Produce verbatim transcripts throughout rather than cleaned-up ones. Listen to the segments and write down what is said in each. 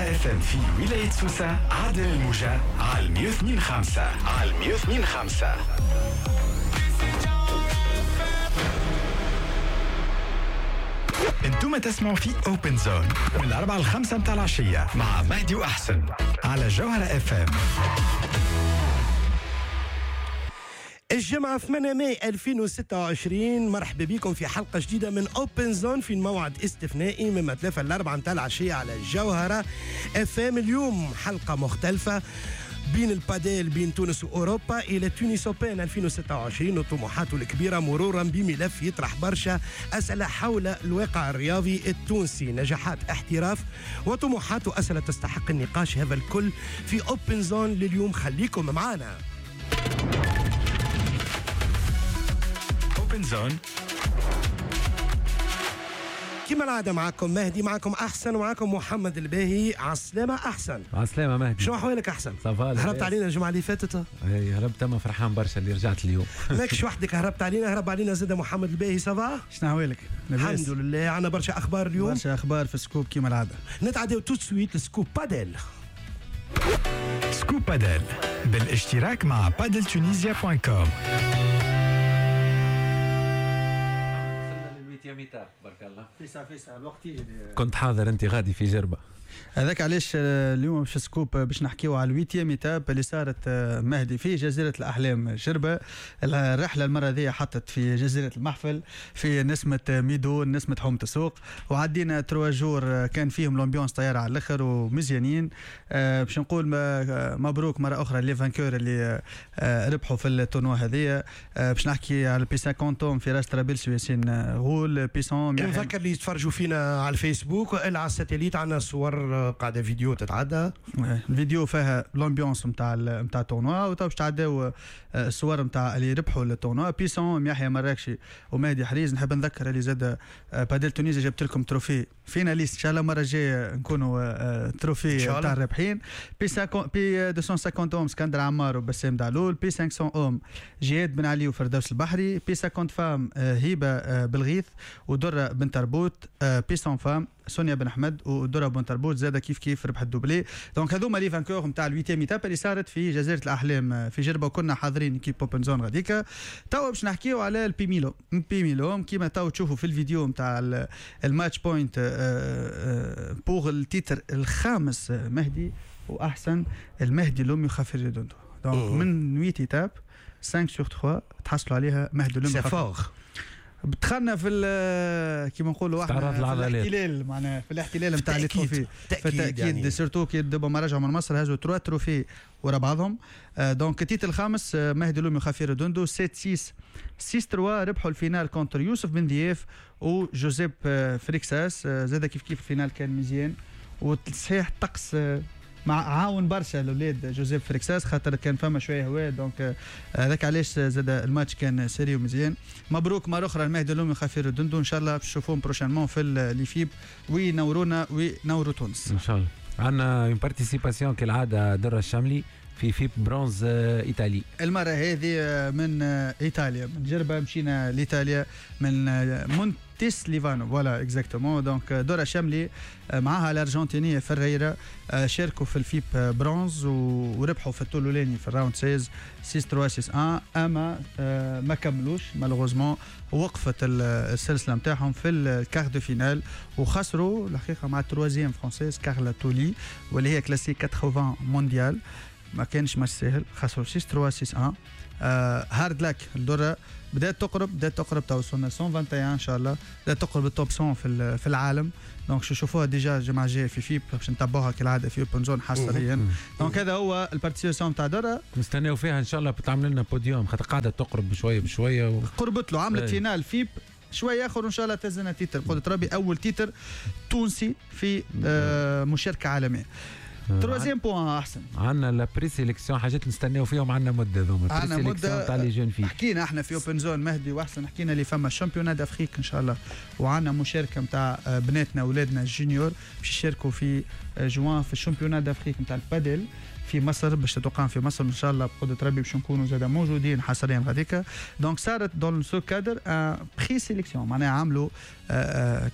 الجوهرة اف ام في ولاية سوسة، عدل الموجة على مية واثنين خمسة، على مية واثنين خمسة. انتم تسمعوا في Open Zone من الأربعة للخمسة متاع العشية مع مهدي وأحسن على جوهرة اف ام. الجمعة ثمانية ماي ألفين وستة وعشرين، مرحبا بكم في حلقة جديدة من Open Zone في موعد استثنائي من ثلاثة لأربعة متاع العشية على الجوهرة اف ام. اليوم حلقة مختلفة بين الباديل بين تونس وأوروبا إلى Tunis Open ألفين وستة وعشرين وطموحاته الكبيرة، مرورا بملف يطرح برشا أسئلة حول الواقع الرياضي التونسي، نجاحات احتراف وطموحات وأسئلة تستحق النقاش. هذا الكل في Open Zone لليوم، خليكم معنا. Open Zone كما العادة معكم مهدي، معكم أحسن، ومعكم محمد الباهي. عالسلامة أحسن. عالسلامة مهدي، شنو أحوالك أحسن؟ ça va، هربت علينا الجمعة اللي فاتت؟ اي هربت، أما فرحان برشا اللي رجعت اليوم. ماكش وحدك هربت علينا، هرب علينا زاد محمد الباهي. ça va؟ شنو أحوالك؟ الحمد لله، عندنا برشا أخبار اليوم، برشا أخبار في scoop كما العادة. نتعداو tout de suite ل scoop padel. scoop padel بالاشتراك مع padel Tunisia point com. بارك الله فيسع فيسع الوقت يجري. كنت حاضر انت غادي في جربه، هذاك علاش اليوم باش scoop باش نحكيو على ال huitième étape اللي صارت مهدي في جزيرة الاحلام جربه. الرحلة المرة ذي حطت في جزيرة المحفل في نسمه ميدو، نسمه حومه السوق، وعدينا trois jours كان فيهم l'ambiance طيارة على الاخر ومزيانين. باش نقول مبروك مرة اخرى les vainqueurs اللي ربحوا في ال tournoi هذه. باش نحكي على P cinquante فراس طرابلسي وياسين غول، P cent. نذكر اللي يتفرجوا فينا على الفيسبوك والا على ال satellite، عندنا صور قاعدة فيديو تتعدى، الفيديو فيها l'ambiance نتاع نتاع ال tournoi، وتو باش تعداو الصور نتاع اللي ربحوا ال tournoi. P cent يحيى مراكشي ومهدي حريز. نحب نذكر اللي زاد Padel Tunisie جبت لكم trophée finaliste، ان شاء الله المرة الجاية نكونوا trophée نتاع الرابحين. P P مئتين وخمسين hommes اسكندر عمار وبسام دعلول. P خمسمية hommes جهاد بن علي وفردوس البحري. P خمسين femmes هبه بالغيث ودره بن تربوت. P مية femmes سونيا بن احمد ودورا بن تربوت زاد كيف كيف ربح ال doublé. donc هذوما les vainqueurs نتاع ال huitième étape اللي صارت في جزيرة الاحلام في جربه، وكنا حاضرين équipe Open Zone غاديكا. توا باش نحكيو على ال P mille hommes. P mille hommes كيما توا تشوفوا في الفيديو نتاع ال match point pour ال titre الخامس مهدي واحسن المهدي لومي وخافير ريدوندو. donc من ثمانية étapes خمسة sur ثلاثة تحصلوا عليها مهدي لومي. c'est fort. دخلنا في كيما نقولوا احنا في الاحتلال، معناها في الاحتلال نتاع les trophées، في التاكيد يعني. surtout كي دابا ما رجعوا من مصر هزوا trois trophées ورا بعضهم. donc ال titre الخامس مهدي لومي وخافير دوندو سبعة ستة ستة ثلاثة ربحوا ال finale contre يوسف بن ضياف وجوزيب فريكساس. زاد كيف كيف ال finale كان مزيان، وتصحيح الطقس مع عاون برشا الاولاد جوزيف فريكساس خاطر كان فما شوية هواء. donc هذاك علاش زاد الماتش كان sérieux مزيان. مبروك مرة اخرى المهدي لومي خفير الدندو، ان شاء الله باش نشوفوهم prochainement في les FIP وينورونا وينوروا تونس ان شاء الله. عندنا une participation كالعادة دره الشملي في FIP bronze ايطالي، المرة هذه من ايطاليا، من جربه مشينا لايطاليا من مونتيس ليفانو voilà exactement. donc دورا شاملي معاها الارجنتينية فريرا شاركوا في ال FIP bronze وربحوا في الطول الاولاني في ال round ستة ستة ثلاثة ستة واحد، اما ما كملوش malheureusement، وقفت السلسلة نتاعهم في ال quart de finale وخسروا الحقيقة مع ال troisième française كارلا تولي واللي هي classée ثمانين mondiale. ما كانش ماتش ساهل، خسروا ستة ثلاثة ستة واحد. آه hard luck الدرة بدات تقرب، بدات تقرب تو وصلنا مية وواحد وعشرين ان شاء الله، بدات تقرب ال top مية في في العالم. donc شوفوها déjà الجمعة الجاية في FIP باش نتبعوها كالعادة في Open Zone حصريا. donc هذا هو ال participation تاع دره، نستناو فيها ان شاء الله بتعمل لنا بوديوم خاطر قاعدة تقرب بشوية بشوية و... قربت له، عملت finale FIP شوية اخر وان شاء الله تهزنا titre بقدره ربي، اول titre تونسي في آه مشاركة عالمية. troisième point احسن، عندنا la présélection حاجات نستناو فيهم عندنا مده ذوما، عندنا مده تاع les jeunes filles. حكينا احنا في Open Zone مهدي واحسن، حكينا اللي فما championnat d'Afrique ان شاء الله، وعندنا مشاركة نتاع بناتنا اولادنا ال juniors باش يشاركوا في جوان في ال championnat d'Afrique نتاع البادل في مصر، باش تتقام في مصر ان شاء الله بقدره ربي باش نكونوا زاد موجودين حصريا غاديكا. donc صارت dans ce cadre présélection، معناها عملوا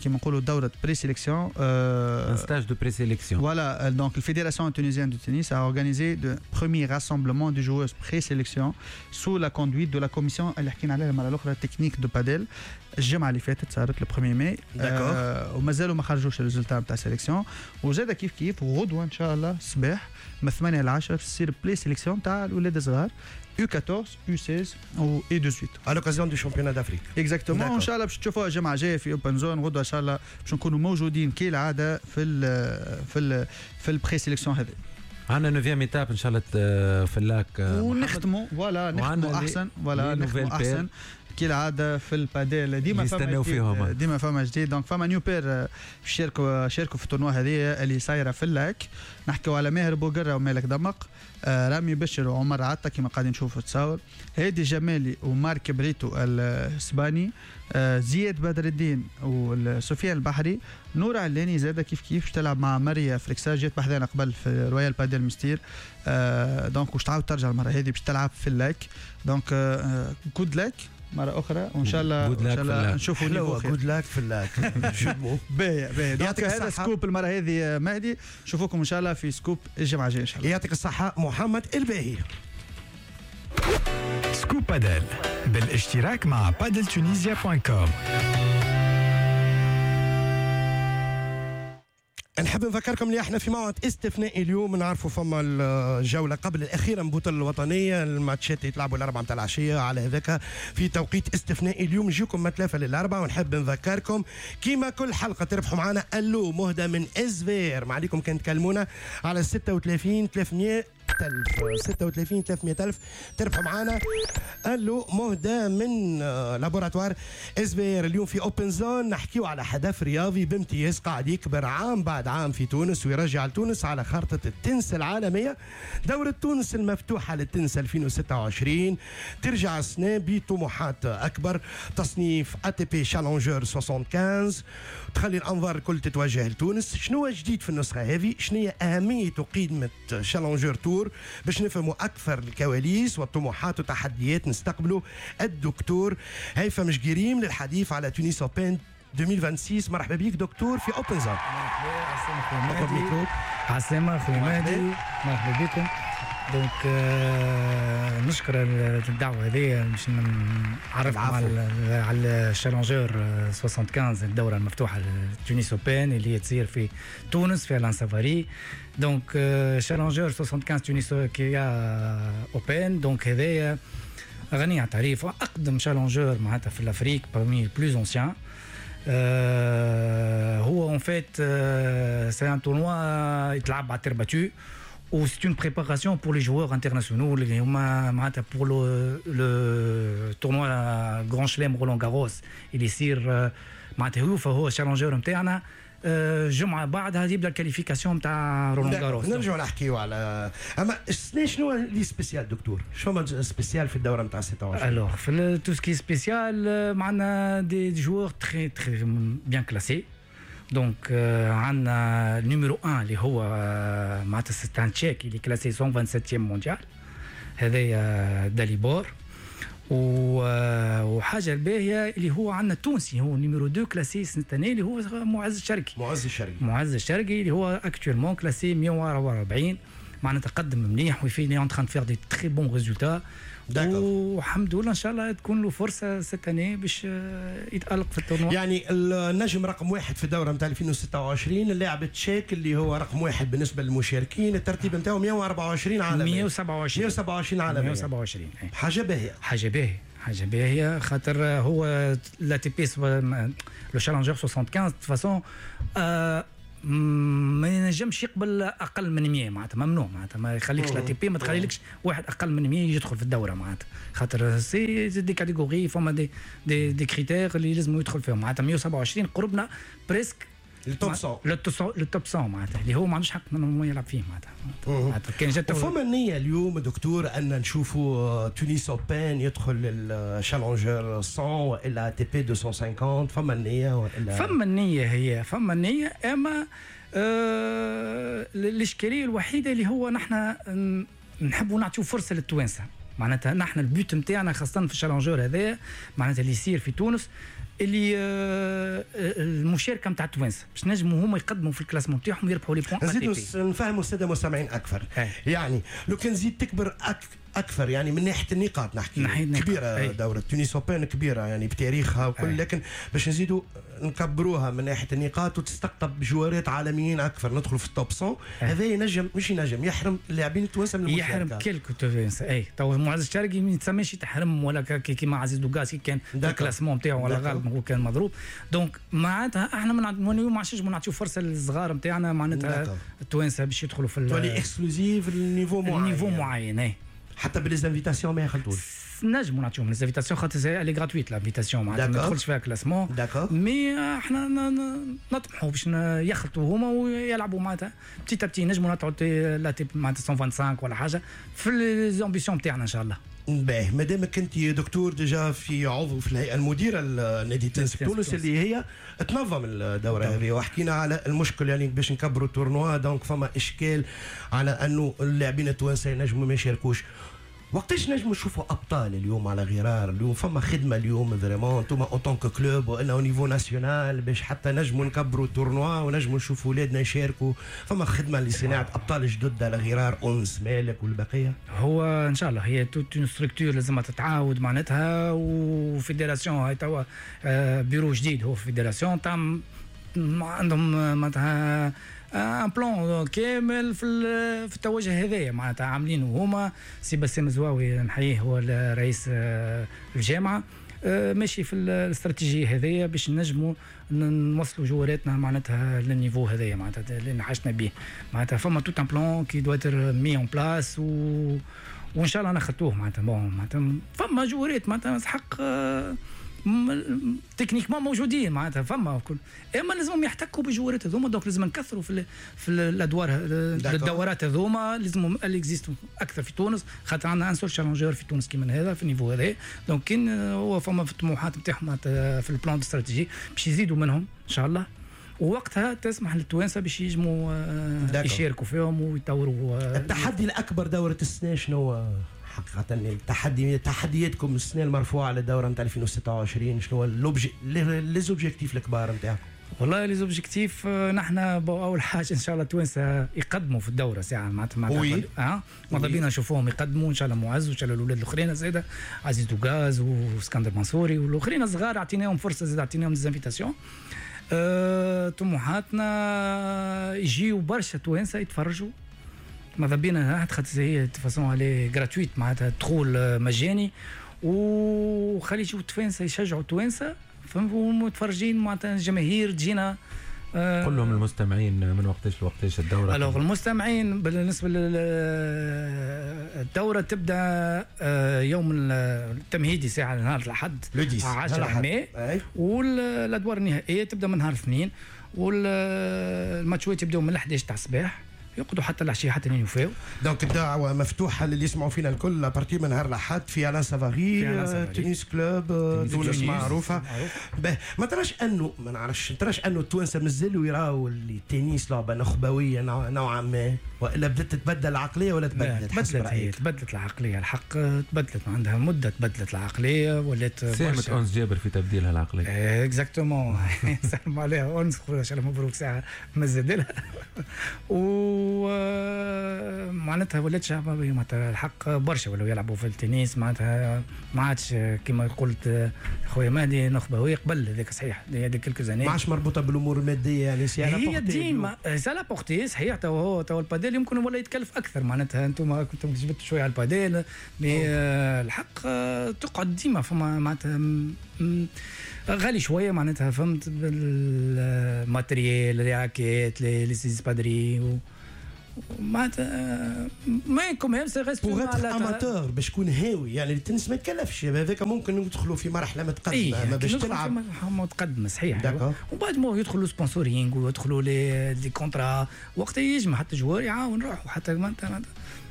كيما نقولوا دوره présélection، un stage de présélection. Voilà, donc la Fédération tunisienne de tennis a organisé le premier rassemblement de joueuses présélection sous la conduite de la commission اللي حكينا عليها المرة الاخرى technique de padel. الجمعة اللي فاتت صارت le premier mai. آه ومازالوا ما خرجوش ال résultats نتاع sélection. وزاد كيف كيف غدوه ان شاء الله الصباح من ثمانية ل عشرة تصير présélection تاع الاولاد الصغار يو أربعطاش يو ستاش و يو ثمنطاش à l'occasion du championnat d'Afrique. Exactement. ان شاء الله باش تشوفوها الجمعة الجاية في Open Zone. غدوه ان شاء الله باش نكونوا موجودين كالعادة في ال في ال في ال présélection هذه. عندنا neuvième étape ان شاء الله في ال Lac ونختموا، voilà نختموا احسن، voilà نختموا احسن كالعادة في الباديل. ديما فما فيهم ديما فما جديد. donc فما new paire شاركوا شاركوا في ال tournoi هذه اللي صايرة في ال Lac. نحكيو على ماهر بوقره ومالك دمق، آه رامي بشر وعمر عطا كما قاعدين نشوفوا تصاور، هادي جمالي ومارك بريتو الاسباني، آه زياد بدر الدين وسفيان البحري، نور علاني زاده كيف كيف تلعب مع ماريا فريكسا جات بحذانا قبل في Royal Padel مستير. آه donc واش تعاود ترجع المرة هذه باش تلعب في ال Lac. donc آه good luck مرة أخرى وإن شاء الله إن شاء الله نشوفوا niveau good luck في ال Lac. باهي باهي. donc هذا scoop المرة هذه مهدي، نشوفوكم إن شاء الله في scoop الجمعة الجاية إن شاء الله. يعطيك الصحة محمد الباهي. Scoop Padel بالاشتراك مع Padel Tunisia point com. نحب نذكركم اللي احنا في موعد استثنائي اليوم، نعرفوا فما الجولة قبل الاخيرة من البطولة الوطنية، الماتشات يتلعبوا الاربعة نتاع العشية، على هذاك في توقيت استثنائي اليوم نجيكم من ثلاثة للاربعه. ونحب نذكركم كيما كل حلقة تربحوا معنا الو مهدى من ازفير، ما عليكم كان تكلمونا على ستة وثلاثين ثلاثمية ألف، ستة وثلاثين ثلاثمية ألف تربحوا معنا الو مهدى من laboratoire SVR. اليوم في Open Zone نحكيو على حدث رياضي بامتياز قاعد يكبر عام بعد عام في تونس ويرجع لتونس على خارطة التنس العالمية. دورة تونس المفتوحة للتنس ألفين وستة وعشرين ترجع السنة بطموحات أكبر، تصنيف ATP Challenger خمسة وستين تخلي الأنظار الكل تتوجه لتونس. شنو جديد في النسخة هذه؟ شنو هي أهمية وقيمة Challenger Tour؟ باش نفهموا أكثر الكواليس والطموحات والتحديات نستقبلوا الدكتور هيثم جريم للحديث على Tunis Open ألفين وستة وعشرين. مرحبا بك دكتور في Open Zone. مرحبا عسلامة خويا مهدي، مرحبا بكم. donc آه نشكر الدعوة هذه باش نعرفكم على على ال Challenger خمسة وستين، الدورة المفتوحة Tunis Open اللي هي تصير في تونس في Alain Savary. donc Challenger خمسة وستين Tunis Open، donc هذايا غني عن التعريف، اقدم Challenger معناتها في l'Afrique parmi plus anciens. Euh, هو en fait euh, c'est un tournoi يتلعب على terre battue و c'est une préparation pour les joueurs internationaux اللي هما معناتها pour le, le tournoi Grand Chelem Roland Garros اللي يصير معناتها هو فهو Challenger نتاعنا جمعة بعدها يبدا ال qualification نتاع Roland Garros. نرجعوا نحكيو على اما السنة شنو اللي spécial دكتور؟ شنو spécial في الدورة نتاع ستة وعشرين؟ alors في tout ce qui est spécial معنا des joueurs très très bien classés. donc عندنا numéro واحد اللي هو معناتها c'est un Tchèque اللي classé مية وسبعة وعشرين مونديال، هذايا داليبور. وحاجه الباهيه اللي هو عندنا التونسي هو numéro اثنين classé cette année اللي هو معز الشرقي. معز الشرقي معز الشرقي اللي هو actuellement classé مية وأربعة وأربعين، معناتها تقدم مليح وفي en train de faire des très bons résultats. والحمد لله ان شاء الله تكون له فرصة cette année باش يتالق في ال tournoi. يعني النجم رقم واحد في الدورة نتاع ألفين وستة وعشرين اللاعب التشيك اللي هو رقم واحد بالنسبة للمشاركين، الترتيب نتاعو مية وأربعة وعشرين عالميا، مية وسبعة وعشرين مية وسبعة وعشرين عالميا، مية وسبعة وعشرين. حاجة باهيه، حاجة باهيه، حاجة باهيه خاطر هو l'ATP le Challenger خمسة وستين de façon ما ينجمش يقبل اقل من مية، معناتها ممنوع، معناتها ما يخليكش l'ATP ما تخليلكش واحد اقل من مية يدخل في الدورة، معناتها خاطر c'est des catégories فما des des, des critères اللي لازم يدخل فيهم. معناتها مية وسبعة وعشرين قربنا presque ال top مية، ال top مية معناتها اللي هو ما عندوش حق انه يلعب فيه معناتها. كان جات فما النية اليوم دكتور ان نشوفوا Tunis Open يدخل ال Challenger مية والا ATP مئتين وخمسين، فما النية والا فما النية؟ هي فما النية، اما آه الاشكالية الوحيدة اللي هو نحن نحبوا نعطيو فرصة للتوانسه معناتها. نحن ال but نتاعنا خاصة في ال Challenger هذايا معناتها اللي يصير في تونس اللي آه المشاركة نتاع التوانسة باش نجموا هما يقدموا في ال classement نتاعهم ويربحوا les points. نزيدوا نفهموا السادة المستمعين اكثر. أي. يعني لو كان زيد تكبر أك اكثر يعني من ناحية النقاط نحكي ناحية كبيرة. أي. دوره Tunis Open كبيرة يعني بتاريخها وكل، لكن باش نزيدوا نكبروها من ناحية النقاط وتستقطب جوارات عالميين اكثر، ندخلوا في ال top مية. هذا ينجم مش ينجم يحرم اللاعبين التوانسة من المشاركة، يحرم quelques توانسة. اي تو معز الشرقي ما يتسماش تحرم ولا كيما عزيز دوغاس كان ال classement نتاعو ولا غالب هو كان مضروب. donc معناتها احنا من اليوم ما عادش نعطيو فرصة للصغار نتاعنا معناتها التوانسة باش يدخلوا في تولي exclusive ال niveau معين، ال niveau معين. اي حتى ب les invitations ما يخلطوش، نجموا نعطيهم les invitations خاطر elle est gratuite l'invitation معناتها ما تدخلش فيها classement، mais احنا نطمحوا باش يخلطوا هما ويلعبوا معناتها petit à petit، نجموا نطلعوا l'ATP معناتها مية وخمسة وعشرين ولا حاجة في les ambitions تاعنا ان شاء الله. باهي، مادامك انت دكتور déjà في عضو في الهيئة المديرة لنادي التنس في تونس اللي هي تنظم الدورة هذه، وحكينا على المشكل يعني باش نكبروا ال tournoi، donc فما اشكال على انه اللاعبين التوانسة ينجموا ما يشاركوش. وقتاش نجموا نشوفوا ابطال اليوم على غرار اليوم؟ فما خدمة اليوم vraiment انتوما en tant que club والا au niveau national باش حتى نجموا نكبروا ال tournoi ونجموا نشوفوا ولادنا يشاركوا، فما خدمة لصناعة ابطال جدد على غرار انس مالك والبقية؟ هو ان شاء الله هي toute une structure لازم تتعاود معناتها، و fédération هاي توا بيرو جديد هو fédération تاع عندهم معناتها un plan كامل في في التوجه هذايا معناتها عاملينه هما. سي بسام زواوي نحييه هو رئيس الجامعة ماشي في الاستراتيجية هذايا باش نجموا نوصلوا جواراتنا معناتها لل niveau هذايا معناتها اللي حاجتنا به معناتها. فما tout un plan qui doit être mis en place و وان شاء الله نخطوه معناتها. bon معناتها فما جوارات معناتها حق techniquement موجودين معناتها فما كل، اما لازمهم يحتكوا بالجوارات هذوما، donc لازم نكثروا في ال في الادوار الدورات هذوما، لازم existent اكثر في تونس خاطر عندنا un seul Challenger في تونس كيما هذا في ال niveau هذا. donc كاين هو فما في الطموحات نتاعهم في ال plan stratégique باش يزيدوا منهم ان شاء الله، ووقتها تسمح للتوانسه باش يجموا يشاركوا فيهم ويطوروا. التحدي الاكبر دوره السنة شنو حقيقة؟ التحدي تحدياتكم السنة المرفوعة على الدورة نتاع ألفين وستة وعشرين شنو les objectifs الكبار نتاعكم؟ والله les objectifs نحن اول حاجة ان شاء الله التوانسة يقدموا في الدورة ساعة معناتها معناتها اه ماذا بينا نشوفوهم يقدموا ان شاء الله، معز وان شاء الله الاولاد الاخرين زاده عزيز دوغاز واسكندر منصوري والاخرين الصغار اعطيناهم فرصة زاد اعطيناهم des invitations. أه طموحاتنا يجيو برشا توانسة يتفرجوا ماذا بينا خاطر هي façon elle est gratuite معناتها دخول مجاني، وخلي يجيو التوانسة يشجعوا التوانسة فهمتوا متفرجين معناتها الجماهير تجينا. أه قول لهم المستمعين من وقتاش لوقتاش الدورة؟ alors المستمعين بالنسبة للدورة تبدا يوم التمهيدي ساعة نهار الاحد عشرة ماي، والادوار النهائية تبدا من نهار الاثنين، والماتشات يبداو من احداش تاع الصباح يقعدوا حتى العشية حتى لين يوفاو. donc الدعوة مفتوحة للي يسمعوا فينا الكل à partir من نهار الاحد في Alain Savary Tennis Club تونس معروفة. به ما تراش انه ما نعرفش تراش انه التوانسة مازالوا يراو التنس لعبه نخبويه نوعا ما، والا بدات تتبدل العقلية ولا تبدلت؟ تبدلت هي تبدلت العقلية الحق، تبدلت عندها مده تبدلت العقلية ولات. ساهمت انس جابر في تبديلها العقلية. exactement سلم عليها انس خويا مبروك ساعة مزد لها و معناتها ولات شعبية معناتها الحق برشا ولاو يلعبوا في التنس معناتها ما عادش كما قلت خويا مهدي نخبويه قبل هذاك صحيح هذيك quelques années ما عادش مربوطة بالامور المادية يعني c'est à la هي ديما c'est à la portée صحيح. تو هو تو الباديل يمكن ولا يتكلف اكثر معناتها انتم كنتم جبتوا شوية على ال padel mais الحق تقعد ديما فما معناتها غالي شوية معناتها فهمت بال matériel les raquettes les espadrilles و معناتها mais quand même ça reste pour être amateur باش تكون هاوي، يعني التنس ما يتكلفش، هذاك ممكن ندخلوا في مرحلة متقدمة. إيه ما باش تلعب متقدمة صحيح. ومن بعد ما يدخلوا sponsoring ويدخلوا les des contrats، وقتها يجمع حتى joueur يعاون روحه، حتى معناتها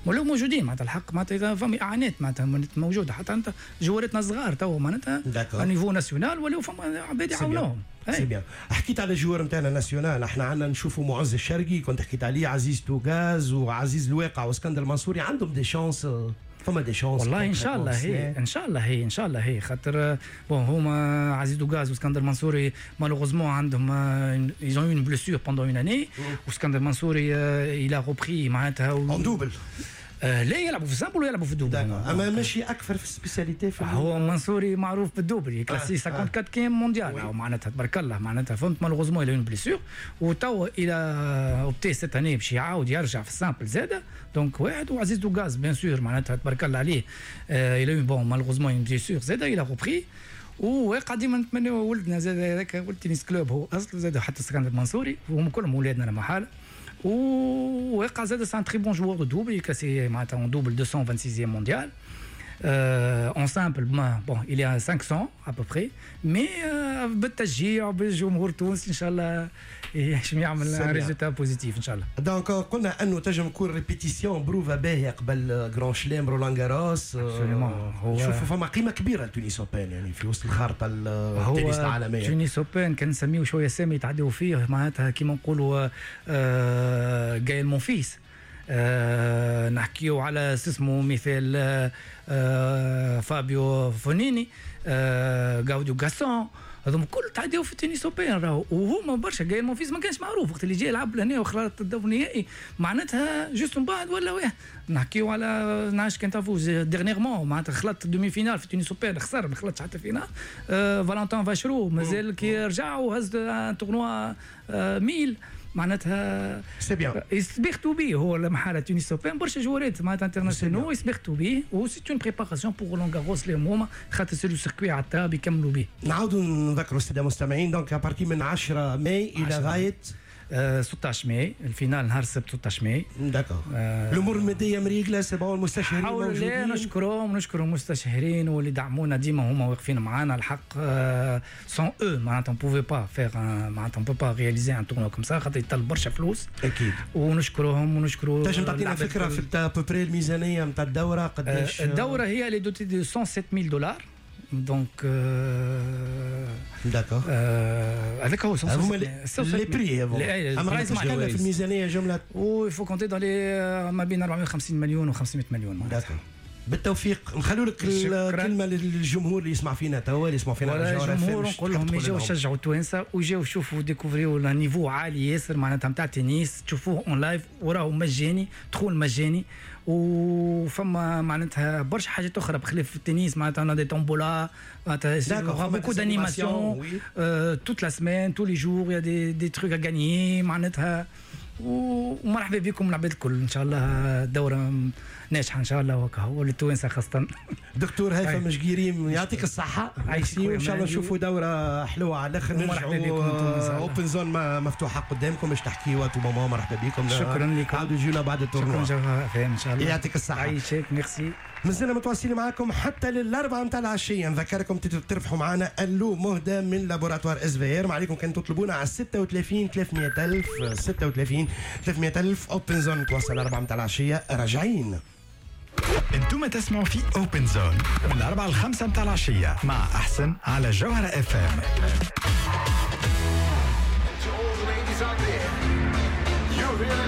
ولو موجودين معناتها الحق معناتها فما اعانات معناتها موجودة، حتى انت جواراتنا صغار تو معناتها niveau national ولاو فما عباد يعاونوهم. c'est bien. حكيت على ال joueurs نتاعنا national، احنا عندنا نشوفوا معز الشرقي كنت حكيت عليه، عزيز توغاز وعزيز الواقع واسكندر المنصوري، عندهم des chances، فما des chances؟ والله ان شاء الله هي، ان شاء الله هي، ان شاء الله هي، خاطر bon هما عزيز دوغاز واسكندر منصوري malheureusement عندهم ils ont une blessure pendant une année، واسكندر منصوري il a repris معناتها en double. آه لا يلعبوا في ال simple ويلعبوا في ال double، اما ماشي اكثر في ال spécialité في هو منصوري معروف بال double، classé cinquante-quatrième mondial معناتها تبارك الله معناتها فهمت. malheureusement il a une blessure وتوا il a opté cette année باش يعاود يرجع في ال simple زاده. donc واحد وعزيز دوغاز bien sûr معناتها تبارك الله عليه، il a eu bon malheureusement une blessure زاده il a repris. وواقع ديما نتمناو ولدنا زاد هذاك ولد tennis club هو اصله زاد حتى اسكندر المنصوري، وهم كلهم ولادنا لا محالة. وواقع زاد c'est un très bon joueur de double، classé معناتها en double deux cent vingt-sixième mondial. en simple bon il est à cinq cents à peu près، mais بالتشجيع وبالجمهور التونسي ان شاء الله ينجم يعمل résultat positif ان شاء الله. donc قلنا انه تنجم تكون répétition بروفا باهيه قبل Grand Chelem Roland Garros. شوفوا فما قيمة كبيرة ل Tunis Open يعني في وسط الخارطة التنس العالميه. Tunis Open كان نسميه شوية سامي يتعدوا فيه معناتها كيما نقولوا آه Gaël Monfils، آه نحكيو على اسمه مثال آه فابيو فونيني، آه غاوديو غاسون، هذوما الكل تعداو في ال Tunis Open راهو، وهما برشا. Gaël Monfils ما كانش معروف وقت اللي جاي يلعب لهنا وخلط الدور النهائي معناتها juste من بعد ولا واحد. نحكيو على نعرفش كان تعرفوا dernièrement معناتها خلط demi-finale في Tunis Open خسر، ما خلطش حتى finale. آه Valentin Vacherot مازال كي رجع وهز un tournoi آه mille معناتها. c'est bien. يسبيختو بيه هو المحالة Tunis Open، برشا جوارات معناتها internationaux يسبيختو بيه، و c'est une préparation pour Roland Garros اللي هما خاطر c'est le circuit على التراب يكملوا بيه. نعاودوا نذكروا السادة المستمعين، donc à partir من عشرة ماي الى غاية ستة عشر ماي، ال finale نهار السبت ستة عشر ماي. d'accord. الامور المادية مريقله، c'est bon، المستشهرين موجودين؟ نشكرهم، نشكرهم المستشهرين واللي دعمونا ديما، هما واقفين معانا الحق. sans eux معناتها on pouvait pas faire، معناتها on peut pas réaliser un tournoi comme ça خاطر يطلب برشا فلوس. اكيد. ونشكرهم ونشكروا. تنجم تعطينا فكرة في à peu près الميزانية نتاع الدوره قداش؟ الدورة هي elle est dotée de cent sept mille dollars donc. d'accord. هذاك هو. هما les prix، اما في الميزانية جمله. و il faut compter dans les ما بين أربعمية وخمسين مليون و خمسمية مليون. d'accord، بالتوفيق. نخلوا لك الكلمة للجمهور اللي يسمع فينا توا، اللي يسمع فينا على الجمهور نقول لهم يجيو يشجعوا التوانسة ويجيو يشوفوا découvrir niveau عالي ياسر معناتها نتاع تنس، تشوفوه en live وراهو مجاني، دخول مجاني، وفما معناتها برشا حاجات اخرى بخلاف التنس، معناتها des tombolas، معناتها beaucoup d'animations toute la semaine، tous les jours y a des des trucs à gagner معناتها. ومرحبا بكم العباد الكل، ان شاء الله الدورة ناجحة ان شاء الله وكهو للتوانسه خاصه. دكتور هيثم شقيري يعطيك الصحه، وان شاء الله نشوفوا دوره حلوة على الاخر. مرحبا بكم. Open Zone مفتوحة قدامكم باش تحكيوا tout moment، مرحبا بكم. شكرا لكم. عاودوا جيونا بعد ال tournoi. شكرا ان شاء الله. يعطيك الصحه. عايشك، ميرسي. مازلنا متواصلين معاكم حتى للأربعة متاع العشية. نذكركم تربحوا معنا اللو مهدى من laboratoire SVR، ما عليكم كان تطلبونا على ستة وثلاثين ثلاثمية ألف، ستة وثلاثين ثلاثمية ألف. Open Zone توصل أربعة متاع العشية، راجعين. انتم تسمعوا في Open Zone من الأربعة للخمسة متاع العشية مع أحسن على جوهرة اف ام. To all the ladies out there, you're really